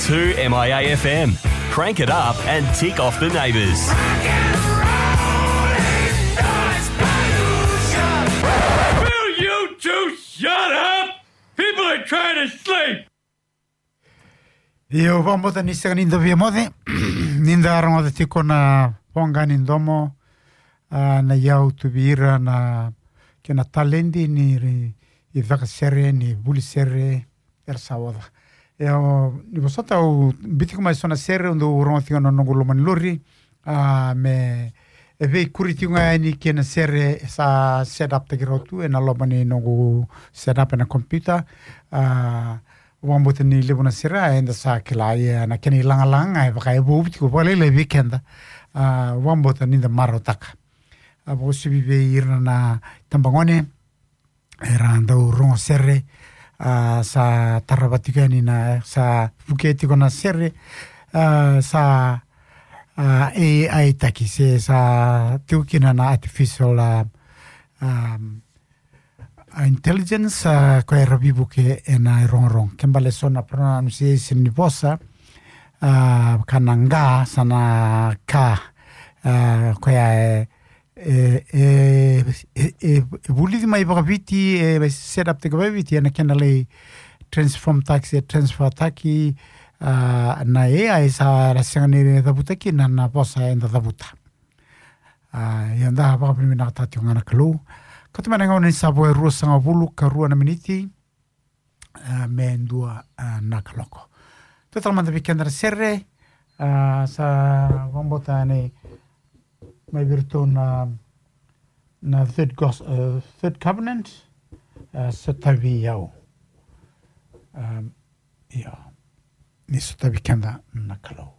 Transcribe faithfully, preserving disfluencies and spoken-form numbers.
Two M I A F M. Crank it up and tick off the neighbours. Will you two shut up? People are trying to sleep. Io, vakabauta ni sega ni da via moce ni da rogoca tiko na voqa ni domo, a, na iyau tu vei ira na kena taledi ni ri-, icaka sere, ni vuli sere, era sa oca. Io, ni vosota au biu tiko mai so na sere, au dau rogo tiko na noqu loma ni lori, a, me e veikuri tiko ga yani kei na sere sa set up taki rau tu ena loma ni noqu set up ena computer. A, vakabauta ni levu na sere, a, eda sa kila, ia na kena ilagalaga ga e vaka e vou tiko vakalailai vei keda. A, vakabauta ni da marautaka. A, vakauasivi vei ira na tabagone era dau rogo sere, a, sa tarava tiko yani na, sa vukei tiko na sere, a, sa, a, A I taki se sa tiko kina na artificial, a, um, a, intelligence, a, koya era veivuke ena irogorogo. Ke bale so na pronunciation ni vosa, a, ka na ga, sa na ka, a, koya e, e, e, e, e, e vulici mai vakaviti, e set up taki vakaviti, ena kena lai transform taki, se transfer taki, a, na A I sa ra sega ni cavuta kina na vosa eda cavuta. A, ia da vakavinavinakataka tiko ga na Kalou. Ka tu mai na gauna ni sa vo e ruasagavulu ka rua na miniti, a, me dua, a, na kaloko. Tou tala mada vei keda na sere, a, sa vakabauta ni mai vei iratou na, na third gos-, a, third covenant, a, sotavi au. A, ia, ni sotavi keda na Kalou.